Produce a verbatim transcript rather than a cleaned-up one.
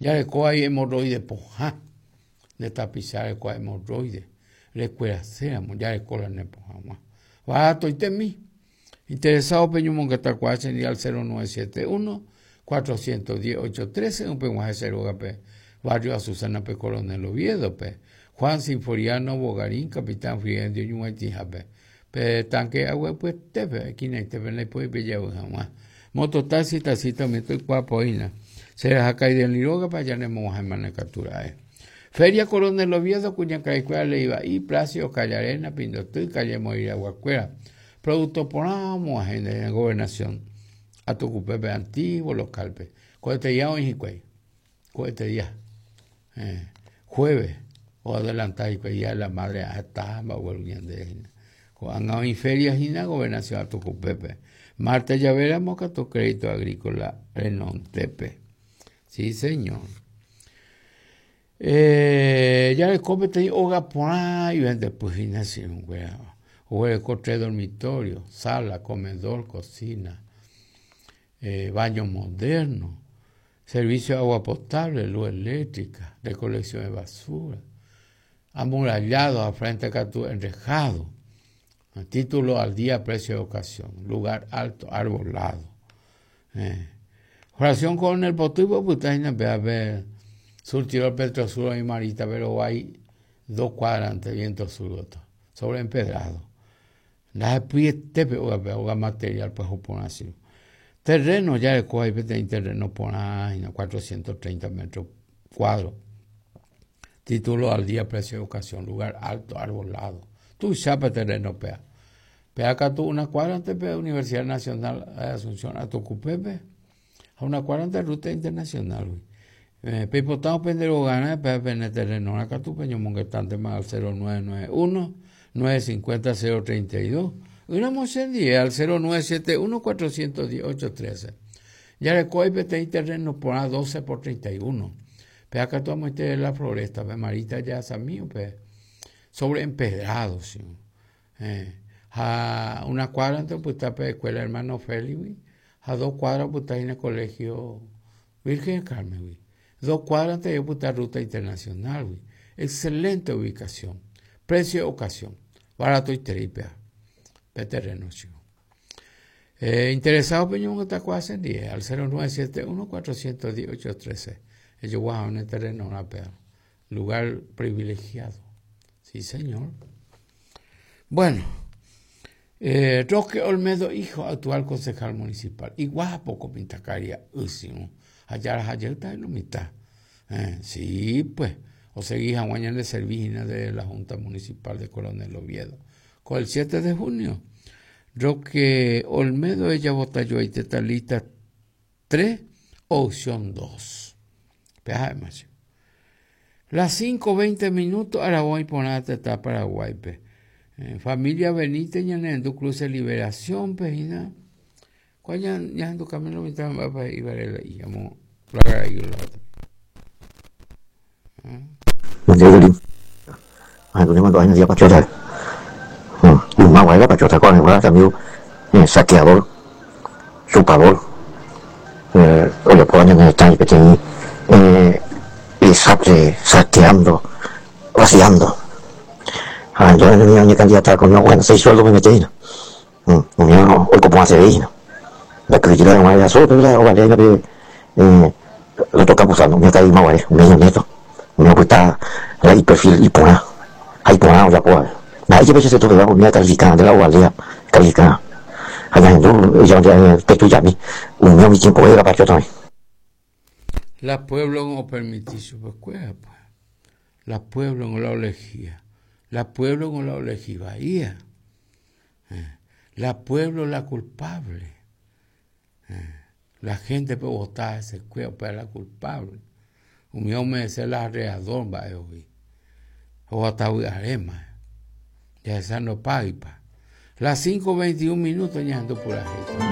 Jareko ahí hemorroide pohã. De tapicha reko hemorroide. Rekueraséramo jareko la ne pohãg̃ua. Baratoitemi. Interesado peñomongetakuaa chendive al cero nueve siete uno cuatrocientos diez ocho trece upeg̃uahẽ che rógape barrio Azucena pe Coronel Oviedo pe Juan Sinforiano Bogarín Capitán Friendio ñug̃uaitĩhápe pe tanque aguapyetépe esquinaitépe ndaipói pejavy hag̃ua mototaxi taxista umi toikuaapoína cherahakaidelĩ rógape ajanemog̃uahẽma katu ra'e. Feria Coronel Oviedo kuñakaikuéra Leiva'i Placio Callarena Pindoty calle Moiraguakuéra producto porã omog̃uahẽ de gobernación Atucupepe antiguo local pe ko'etedia oĩ hikuái ko'etedia eh, jueves o adelantar hikuái día de la madre heta mba'egueru ñande hína ko'ág̃a oĩ feria hína gobernación Atucupepe martes javéramo katu crédito agrícola renontépe sí señor. Eh, jareko peteĩ óga porã ivendepy hína chirũnguéra oguereko tres dormitorios, sala, comedor, cocina, eh, baño moderno, servicio de agua potable, luz eléctrica, recolección de basura, amurallado a frente katu enrejado, título al día, precio de ocasión, lugar alto, arbolado. Eh. Oración con el potipo, pues está en el surtidor Petrosur y Marita, pero hay dos cuadrantes, viento sur, sobre empedrado. La tepe o material pues así. Terreno ya de hay terreno por ahí, cuatrocientos treinta metros cuadros. Título al día, precio de ocasión, lugar alto, arbolado. Tú chapa terreno pea. Pea acá tú una cuadra antes de Universidad Nacional de Asunción, a Tocupepe, a una cuadra antes de ruta internacional. Eh, Pepotao pendero gana, pea pene terreno, acá tú peño monguetante más al cero nueve nueve uno, nueve cincuenta cero treinta y dos. Una moción diez al cero nueve siete uno cuatrocientos diez ocho trece. Ya le coge peteĩ terreno por a doce por treinta y uno. Pe acá tú vamos a la floresta, pe Marita ya samío, pe sobre empedrado, sí. Eh, a una cuadra antes pues está pe escuela hermano Félix, a dos cuadras pues está en el colegio Virgen del Carmen, dos cuadras antes pues está ruta internacional, güey. Excelente ubicación, precio de ocasión, barato y tripea. Pe terreno, chico. Eh, interesado peño está cuasi diez al cero nueve siete uno cuatrocientos diez ocho trece. Ellos guajan en el terreno, una pea. Lugar privilegiado. Sí, señor. Bueno, eh, Roque Olmedo, hijo, actual concejal municipal. Y guapo con pintacaria, usio. Allá, allá está en la mitad. Eh, sí, pues. O seguís a de servigina de la Junta Municipal de Coronel Oviedo. Con el siete de junio, Roque Olmedo, ella vota yo ahí está lista tres, opción dos. Las cinco veinte minutos, ahora voy a poner a Paraguay. Pe. Eh, familia Benítez, Ñanendu, Cruce Liberación, pejina. ¿Cuál ya ya tu camino mitad va para ir a la y llamo la y la otra? ¿Ah? Saqueador, chupador, eh, oye, por años en el tanque tenía, eh, y saque, saqueando, vaciando. Ah, yo no tenía ni candidata con una buena seis sueldos me metí, ¿no? No, hoy como hace ahí, ¿no? La crítica de una sola, pero la otra, la eh, lo toca abusando, me caí más, un niño nieto, me gusta la perfil y pona, ahí pona, o la pona. Ahí yo se todo, me califica de la otra, califica. Allá no, yo ya te tú ya mi, un niño mi tiempo era para yo también. La pueblo no permití su pues pues. La pueblo no la elegía. La pueblo no la elegía Bahía. La pueblo la culpable. La gente puede votar ese cuerpo para la culpable. Un hombre es la arreador va hoy. O hasta hoy arema. Ya esa no paga. Las cinco veintiún minutos ya ando por ahí.